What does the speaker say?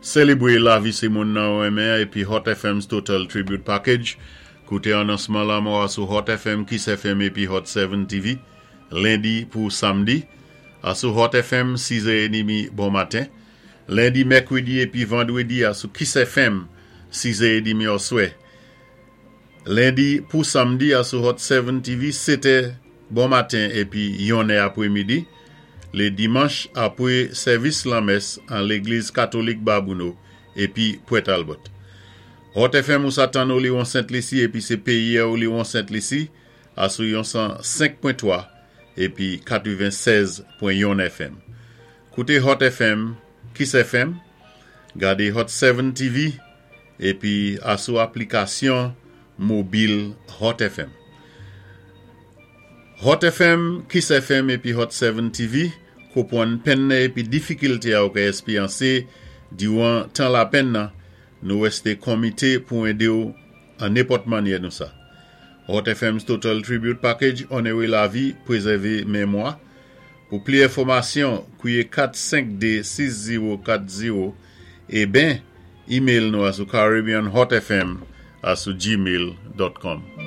Sélébwé lavi sé moun nan ou renmen épi Hot FM's Total Tribute Package. Kouté anonsman lanmò a sou Hot FM, Kiss FM épi Hot 7 TV, lendi pou samdi, asou Hot FM, 6 è édmi bon maten. Lendi, mèkwédi épi vandwédi asou Kiss FM, 6 è édmi oswè. Lendi pou samdi asou Hot 7 TV, 7 è bon maten épi 1 è apwémidi. Lé dimanch apwé sèvis lanmès an Légliz Katolik Babouno épi Pwèt Albòt. Hot FM ou sa tann ou li won Sent Lisi épi sé péyi-a ou li won Sent Lisi asou yon 105.3 épi 96.1 FM. Kouté Hot FM, Kiss FM, gadé Hot 7 TV épi asou aplikasyon mobil Hot FM. Hot FM, Kiss FM épi Hot 7 TV konpwann penn nan épi difikilté a ou ka èspéyansé diwan tan lapenn nan, nou wèsté konmité pou édé-w an nenpòt mannyè nou sa. Hot FM's Total Tribute Package onoré lavi, pwézèvé mémwa. Pou pli enfòmasyon, kwié 4 5 2 6 0 4 0 é ben email nou asou caribbeanhotfm@gmail.com.